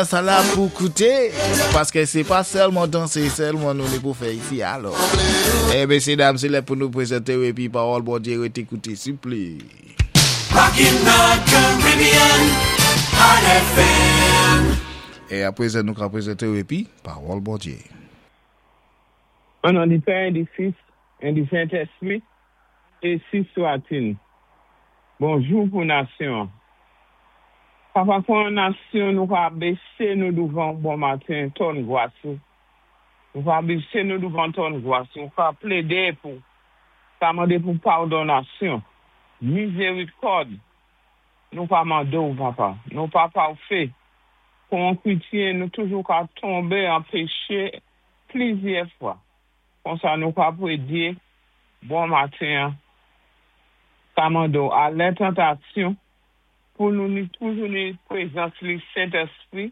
Sa la pou kouté, paské sé pa sèlman dansé sèlman nou ni pou fè isi alò. Eh mésyé dam sé lè pou nou pwézanté ou épi pawòl Bondyé rété kouté souplé. Rockin' the Caribbean on FM. E apwézan nou ka pwézanté ou épi pawòl Bondyé. An non di Pè, di Fis, en di Sentespri, ensi swatil. Bonjou pou nasyon an. Papa kon an nasyon nou ka bese nou douvan ou bon maten twòn gras ou. Nou ka bese nou douvan twòn gras ou, ka plede pou, ka mande pou padonasyon, mizerikòd nou ka mande ou papa. Nou pa pafé. Kon an kretyen nou toujou ka tonbe an peche plizyè fwa. Konsa nou ka pwédyé bon maten an, ka mande w alè tantasyon pou nou ni toujou ni pwézans li Sentèspri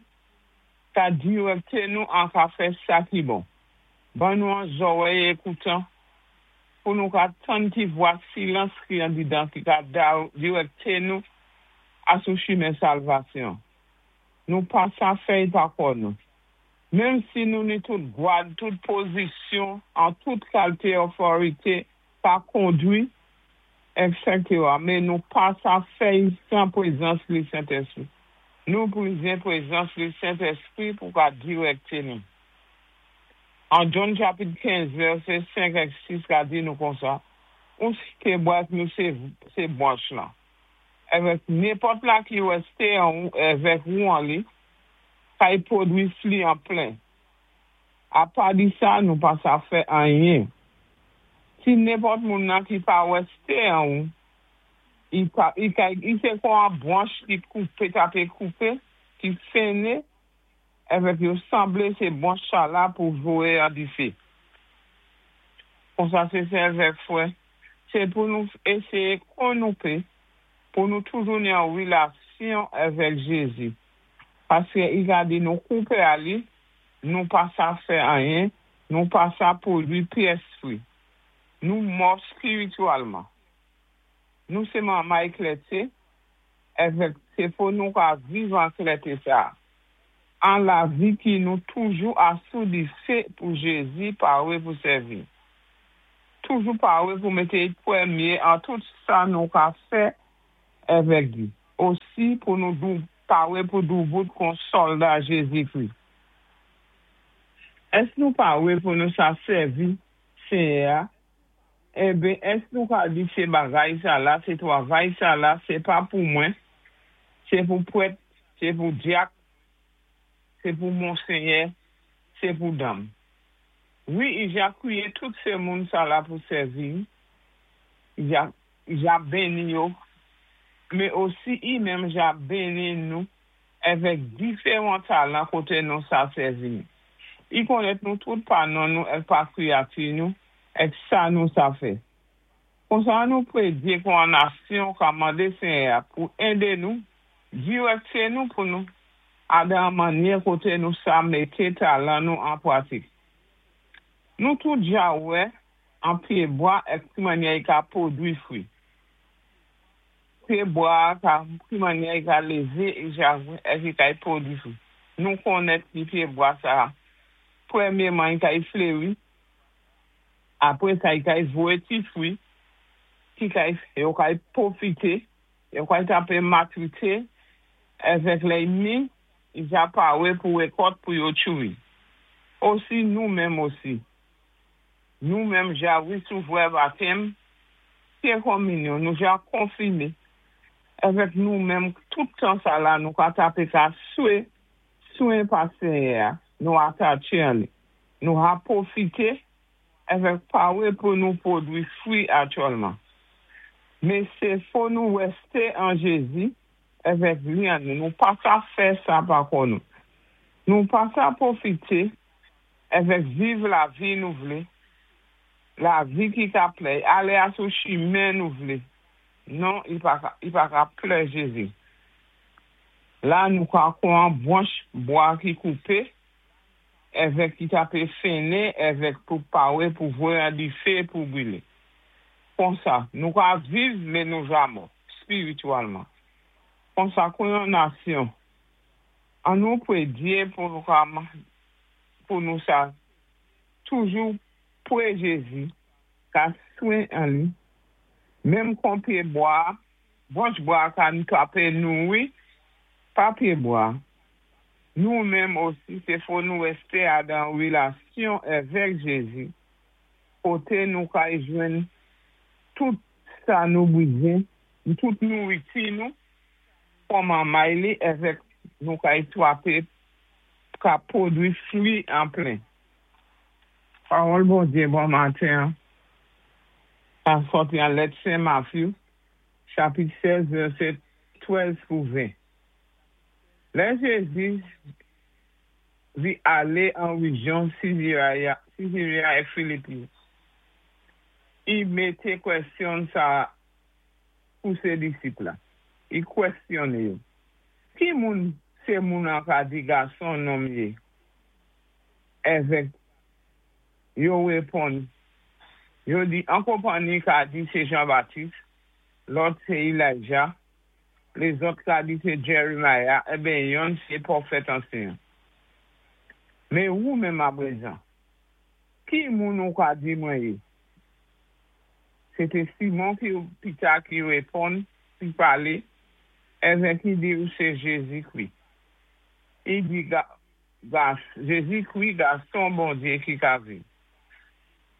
ka dirèkté nou an ka fè sa ki bon. Ban nou an zòwèy ékoutan pou nou ka tann ti vwa silans ki andidan ki ka dirèkté nou asou chimen salvasyon. Nou pa sa fèy pa kò nou. Menm si nou ni tout gwad, tout pozisyon, an tout kalté oforité pa kondwi, etc. Men nou pa sa fèy san pwézans li Sentèspri. Nou pwizyen pwézans li Sentèspri pou ka dirèkté nou. An John chapit 15 vèsé 5 ak 6 ka di nou konsa, Ou sé pyébwa èk nou sé bwanch lan. Èvèk nenpòt la ki wèsté an ou èvèk ou an li, kay pwodwi fli an plen. Apa di sa, nou pa sa fè anyen. Si nenpòt moun nan ki pa wèsté an ou, i pa i kay i sé kon an bwanch ki koupé tape koupé, ki fennen, èvèk yo sanblé sé bwanch sa la pou voyé an difé. Konsa sé sè èvèk frè, sé pou nou éséyé kon nou pé pou nou toujou ni an wilasyon èvèk Jézi. Paské i ka di nou koupé a li, nou pa sa fè anyen, nou pa sa pwodwi pyès fwi. Nou mò spiritwalman. Nou sé manmay klèté, èvèk sé fo nou ka viv an klèté sa. An lavi ki nou toujou asou difé pou Jézi pawé pou sèvi. Toujou pawé pou mété i pwémyé an tout sa nou ka fè èvèk di. Osi pou nou dou pawé pou doubout kon sòlda Jézikri. Ès nou pawé pou nou sa sèvi Séyè a? Enben, ès nou ka di sé bagay sa la, sé twavay sa la, sé pa pou mwen, sé pou pwèt, sé pou dyak, sé pou monsenyè, sé pou danm. Wi, i ja kwiyé tout sé moun sa la pou sèvi, i ja i ja benni yo, mé osi i menm ja benni nou èvèk diféwan talan koté nou sa sèvi. I konnèt nou tout pa non nou èk pa kwiyati nou èk sa nou sa fè. Konsa an nou pwédyé kon an nasyon ka mandé Senyè a pou édé nou, dirèkté nou pou nou ale an mannyè koté nou sa mété talan nou an pwatik. Nou tout ja wè an pyébwa èk ki mannyè i ka pwodwi fwi. Pyébwa a ka ki mannyè i ka lévé i ja èk i kay pwodwi fwi. Nou konnèt ki pyébwa sa pwémyéman i kay fléri, apwé sa i kay voyé ti fwi ki kay yo kay pwofité, yo kay tape matrité èvèk lè i mi, i ja pawé pou wékòt pou yo tchouwi. Osi nou menm osi. Nou menm ja wisouvrè batèm, pyé konminyon, nou ja konfimé èvèk nou menm tout tan sa la nou ka tape ka swe swen pa Senyè a, nou atatché an li. Nou ha pwofité èvèk pawé pou nou pwodwi fwi aktyèlman. Mé sé fo nou wèsté an Jézi èvèk li an nou. Nou pa sa fè sa pa kò nou. Nou pa sa pwofité èvèk viv lavi nou vlé, lavi ki ka plè, alé asou chimen nou vlé. Non, i pa ka, i pa ka plè Jézi. La nou ka kon an bwanch bwa ki koupé, èvèk ki tape fennen èvèk pou pawé pou voyé an difé pou bwilé. Konsa, nou ka viv mé nou ja mò, spiritwalman. Konsa kon yon nasyon. An nou pwé Dye pou nou ka pou nou sa toujou pwé Jézi, ka swen an li. Menm kon pyé bwa, branch bwa ka twapé nouri pa pyé bwa. Nou menm osi, sé fò nou wésté adan wilasyon avèk Jézi, koté nou ka jwenn tout sa nou bizwen, tout nouriti nou, kòm an may li, avèk nou ka twapé ka pwodwi fwi an plen. Pawòl Bondyé bon maten, an sòti an lèt Sen Matthew, chapit 16, vèsé 13 pou 20. Lè Jézi vi alé an wéjyon Sézaréa é Filipi, i mété kwèsyon sa pou sé disip la. I kwèsyoné yo. Ki moun sé moun an ka di gason nonm yé? Avèk yo wéponn. Yo di an konpanni ka di sé Jean-Baptiste, lòt sé Elijah, lézòt ka di sé Jeremiah, ébyen yonn sé pwofèt ansyen. Mé ou menm aprezan, ki moun ou ka di mwen yé? Sé té Simon ki Pita ki wéponn, ki palé, avèk ki di ou sé Jézi-Kri. I di Jézi-Kri gason Bondyé ki ka viv.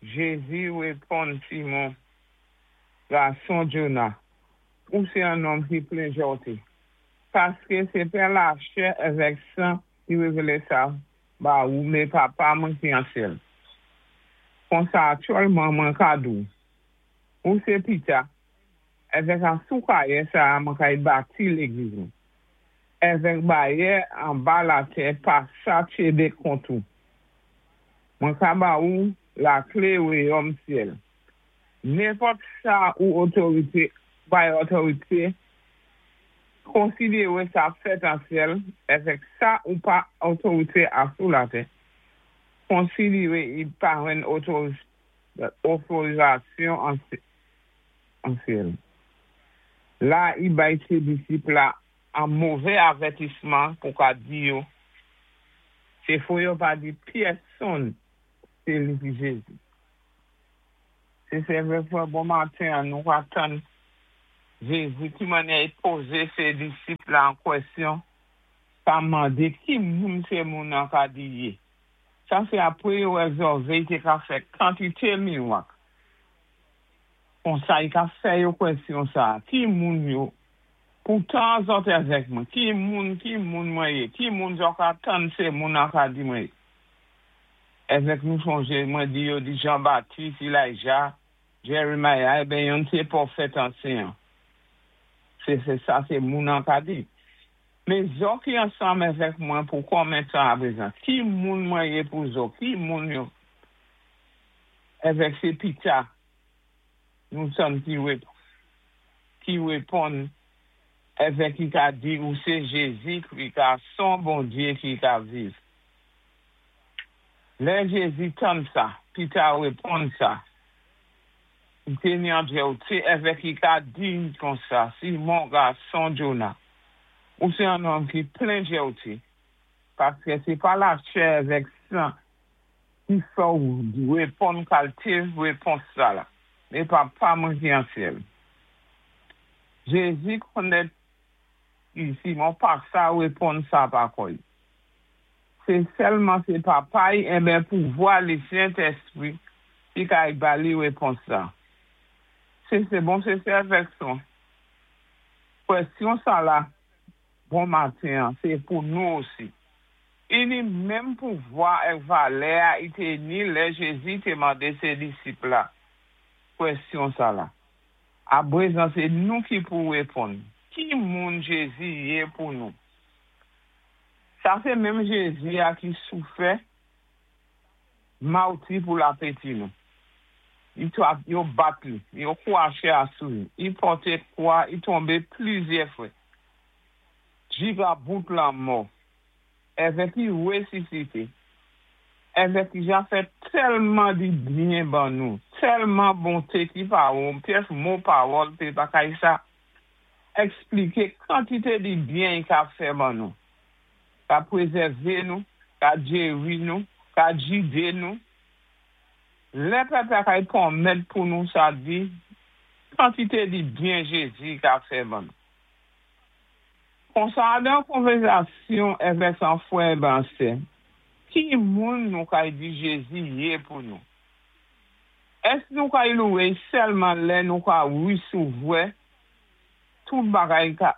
Jézi wéponn Simon, gason Jona, ou sé an nonm ki plen jòté. Paské sé pa lachè avèk san ki wévélé sa ba ou, mé Papa mwen ki an syèl. Konsa aktyèlman mwen ka di ou, sé Pita, avèk an sou kayè sa mwen kay bati légliz mwen. Avèk bayè anba latè pa sa tchébé kont ou. Mwen ka ba ou laklé wayòm syèl. Nenpòt sa ou otorité, bay otorité, konsidéwé sa fèt an syèl, avèk sa ou pa otorité a sou latè, konsidéwé i pa jwenn otorizasyon an syèl. La, i bay sé disip la an mové avètisman pou ka di yo, sé fò yo pa di pyèsonn sé li ki Jézi. Sé sé vwé fwè bon maten nou ka tann Jézi ki mannyè i pozé sé disip la an kwèsyon pa mandé ki moun sé moun an ka di yé. Sa sé apwé yo wè zòvé i té ka fè kantité miwak. Konsa i ka fè yo kwèsyon sa, ki moun yo, poutan zòt avèk mwen, ki moun, ki moun mwen yé, ki moun zòt ka tann sé moun an ka di mwen yé. Avèk nou sonjé, mwen di yo di Jean-Baptiste, Elijah, Jeremiah, ébyen yonn sé pwofèt ansyen. Sé sé sa sé moun an ka di. Mé zò ki ansanm avèk mwen pou konmen tan aprezan? Ki moun mwen yé pou zò? Ki moun yo? Avèk sé Pita, nou tann ki wép ki wéponn avèk ki ka di ou sé Jézi ki gason Bondyé ki ka viv. Lè Jézi tann sa, Pita wéponn sa. I té ni an jèwté avèk i ka di konsa, Simon gason Jona, ou sé an nonm ki plen jèwté, paské sé pa lachè avèk san ki fè ou wéponn kalité wépons sa la, mé Papa mwen ki an syèl. Jézi konnèt ki Simon pa sa wéponn sa pa kò i. Sé sèlman sé Papa i ébyen pouvwa li Sentèspwi ki ka ba li wépons sa. Sé sé bon sé sé avèk son. Kwèsyon sa la, bon maten, sé pou nou osi. I ni menm pouvwa èk valè a i té ni lè Jézi té mandé sé disip la. Kwèsyon sa la. Aprezan sé nou ki pou wéponn. Ki moun Jézi yé pou nou? Sa sé menm Jézi a ki soufè mawti pou lapeti nou. I yo bat li, yo kwaché asou li, i pòté kwa, i tonbé plizyè fwè. Jika bout lanmò, avèk i wésisité, avèk i ja fè tèlman di byen ban nou, tèlman bonté ki pa ou, pyès mo pawòl té pa kay sa, ekspliké kantité di byen i ka fè ban nou. Ka pwézèvé nou, ka jéri nou, ka jidé nou. Lè pèp la kay pwonmèt pou nou sa di, kantité di byen Jézi ka fè ban nou. Konsa dan konvèzasyon èvèk an fwè ban sè, ki moun nou kay di Jézi yé pou nou? Èsk nou kay louwé sèlman lè nou ka wésévwa tout bagay ka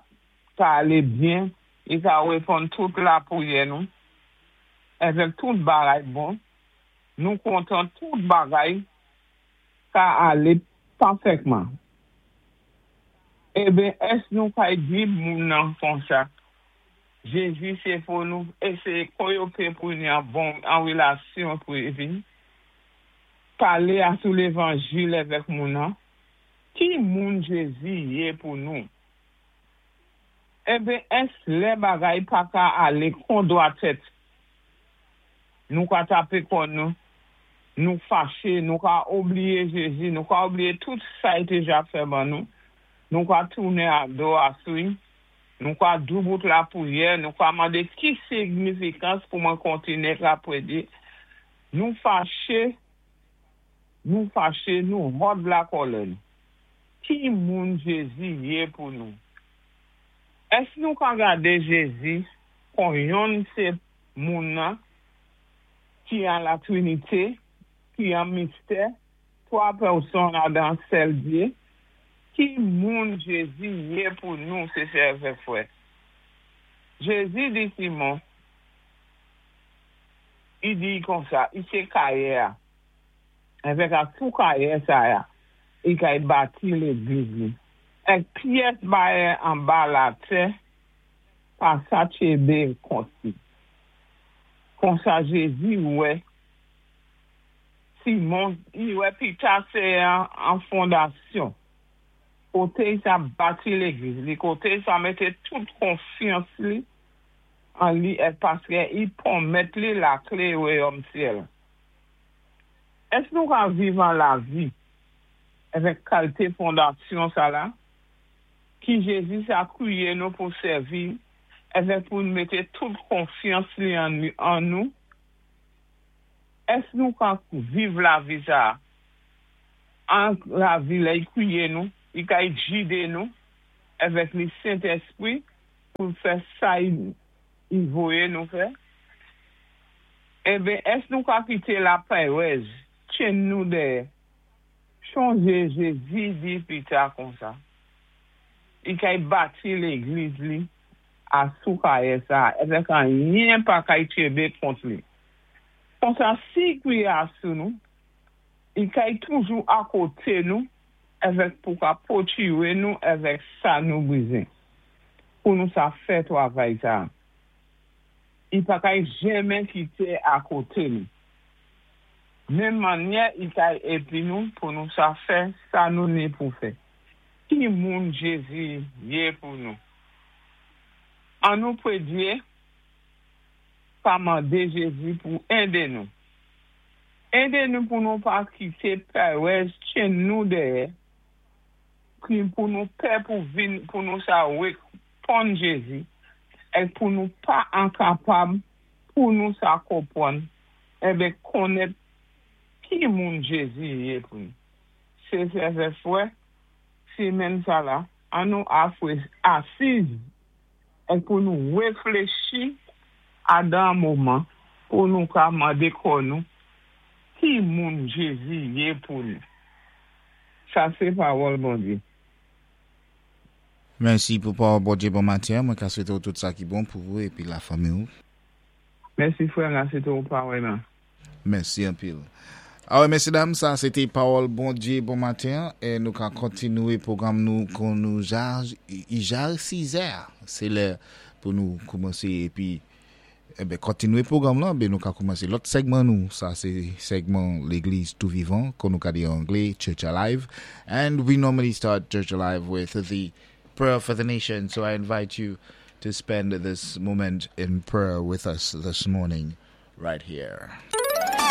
alé byen, i ka wéponn tout lapwiyè nou, èvèk tout bagay bon, nou kontan tout bagay ka alé pafètman? Eben, èsk nou kay di moun nan konsa, Jézi sé pou nou, é sé koyopé pou ni an bon an wélasyon pou épi palé asou lévanjil èvèk moun nan, ki moun Jézi yé pou nou? Eben, èsk lè bagay pa ka alé kon dwatèt, nou ka tapé kò nou, nou faché, nou ka oubliyé Jézi, nou ka oubliyé tout sa i déja fè ban nou, nou ka tounen a do asou, nou ka doubout lapwiyè, nou ka mandé ki signifikans pou mwen kontiné ka pwédyé. Nou faché, nou faché, nou hòd lakòlè nou. Ki moun Jézi yé pou nou? Èsk nou ka gadé Jézi kon yonn sé moun nan ki an la Trinité, ki an mistè, twa pèsonn adan sèl Dyé? Ki moun Jézi yé pou nou, sé sè èvèk fwè? Jézi di Simon, i di konsa, i sé kayè-a. Èvèk asou kayè sa-a, i kay bati légliz li. Èk pyès bayè anba latè pa sa tchébé kont li. Konsa Jézi wè Simon, i wè Pita sé an fondasyon. Koté i sa bati légliz li, koté i sa mété tout konfyans li an li èk paskè i pwonmèt li laklé wayòm syèl. Èsk nou ka viv an lavi èvèk kalité fondasyon sa la ki Jézi sa kwiyé nou pou sèvi èvèk pou nou mété tout konfyans li an nou? Èsk nou ka viv lavi sa an lavi lè i kwiyé nou, i kay jidé nou èvèk li Sentèspwi pou fè sa i voyé nou fè? Eben, èsk nou ka kité lapèrèz tjenn nou dèyè? Chonjé Jézi di Pita konsa, i kay bati légliz li asou kayè sa, èvèk anyen pa kay tchébé kont li. Konsa si i kwiyé asou nou, i kay toujou akoté nou èvèk pou ka pwotiwé nou èvèk sa nou bizwen pou nou sa fè twavay sa. I pa kay jenmen kité akoté nou. Menm mannyè i kay épi nou pou nou sa fè sa nou ni pou fè. Ki moun Jézi yé pou nou? An nou pwédyé pa mandé Jézi pou édé nou. Édé nou pou nou pa kité pèrèz tjenn nou dèyè, ki pou nou pè pou vin pou nou sa wéponn Jézi, èk pou nou pa enkapab pou nou sa konpwann, eben konnèt ki moun Jézi yé pou nou. Sé sè fwè, simenn sa la, an nou asiz èk pou nou wéfléchi adan moman pou nou ka mandé kò nou ki moun Jézi yé pou nou. Sa sé pawòl Bondyé. Mèsi pou pawòl Bondyé bon maten. Mwen ka swété ou tout sa ki bon pou ou épi lafanmi ou. Mèsi fwè, la swété ou parèyman. Mèsi anpil. Awè, mèsi dam, sa sé té pawòl Bondyé bon maten é nou ka kontinwé pwogram nou kon nou ja i ja 6 è. Sé lè pou nou koumansé épi eben kontinwé pwogram lan, ben nou ka koumansé lòt sègman nou. Sa sé sègman Légliz Tou Vivan, kon nou ka di an anglé, Church Alive. And we normally start Church Alive with the prayer for the nation. So I invite you to spend this moment in prayer with us this morning right here.